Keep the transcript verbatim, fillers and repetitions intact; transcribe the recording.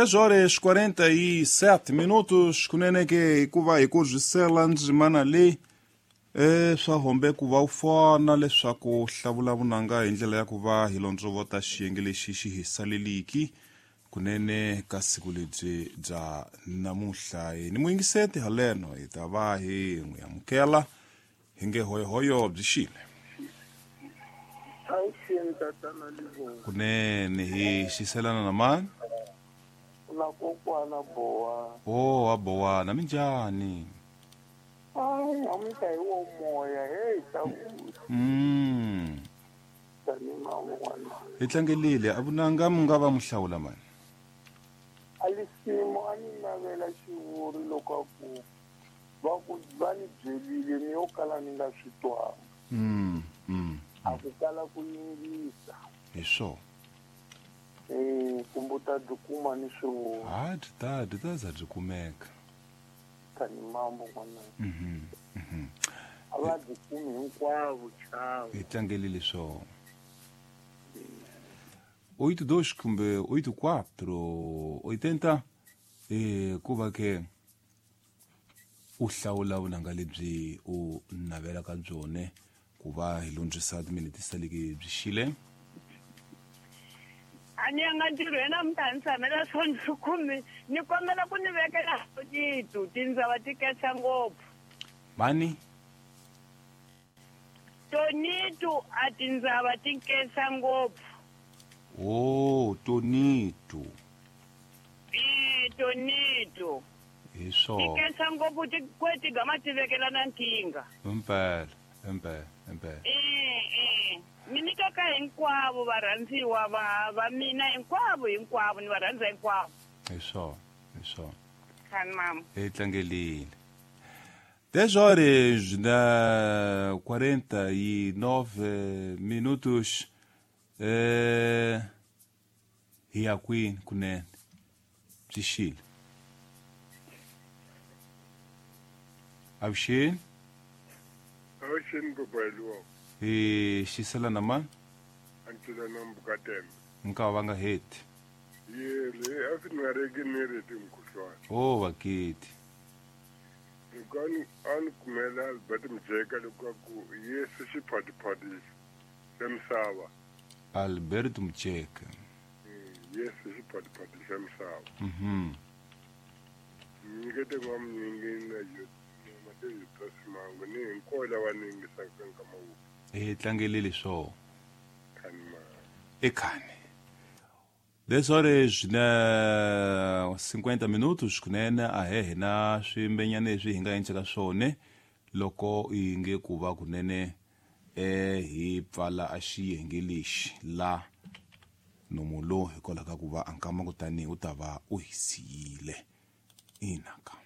Dez horas quarenta e sete minutos kunene ke hikuva hi ku byi ndzimana leyi e swa hombe ku va u fona leswaku hlavula vunanga hi ndlela ya ku va hi londzovota xiyenge lexi xi hi saleliki kunene ka siku lebyi bya namuntlha ni muyingiseti haleno hi ta va hi n'wi amukela hi nge hoyohoyo byi xile kunene hi xiselana na mani na kokwana Bowa. Oh, a Bowana minjhani? Ai, namuntlha hi wo moya hey ta Mm. tani mama. Hi tlangelile a vunanga mu nga va muhlawula mani. Alisimo a ni navela xivuri loko a ku va ku va ni byelile ni yo kala ni nga swi twanga. Mm. Mm. A ku kala ku yingisa. Hi swona. Eh, kumbe u ta byi kuma ni swivuri. Ha byi ta byi ta za byi kumeka. Tani mambo n'wana. Mhm. Mhm. A va byi kumi hinkwavo chava. Hi tlangelile swona. Oito dois kumbe oito quatro oitenta eh ku va ke u hlawula vunanga lebyi u navelaka byone ku va hi lundzisa timinete saleke byi xile. A ni yanga ntirhweni namuntlha ni tshamela swona kumi ni kombela ku ni vekela titu tindzava ti ketsa ngopfu. Mani? Tonitu a tindzava ti ketsa ngopfu. Oh, Tonitu. Eh, Tonitu. Hi swona. Ti ketsa ngopfu ti kweti gama ti vekela na nkingha. Impela, impela, impela. Eh, eh. Ni nyika ka hinkwavo varhandziwa va va mina hinkwavo hinkwavo ni va rhandza hinkwavo. Hi swona, hi swona. Khani mama. Hi tlangelile. Dez horas na quarenta e nove minutos eh hi ya kwini kunene byi xile. Avuxeni. Avuxeni babayiwa. Hi xisela na mani? Antila na Mbukatembe. Nka va nga heti. Yele a fi nga reki ni reti mkhuhlwana. Oh vaketi. Loko a ni a ni kumela Albert Mjeka loko a ku Yesu xiphatipati xa misava. Albert Mjeka. Yesu xiphatipati xa misava. Mhm. Nyikete n'wamunyingi na yo matezi ta simango ni hinkwavo lava ni yingisaka nkama wu. Hi tlangelile swona. Khani ma. Ekhani. Dez horas na cinquenta minutos kunene a he hina swimbenyana leswi hi nga endleka swona loko hi nge ku va kunene eh hi pfala a xiyenge lexi la nomu lo hikwalaho ka ku va a nkama kutani u ta va u hi siyile inaka.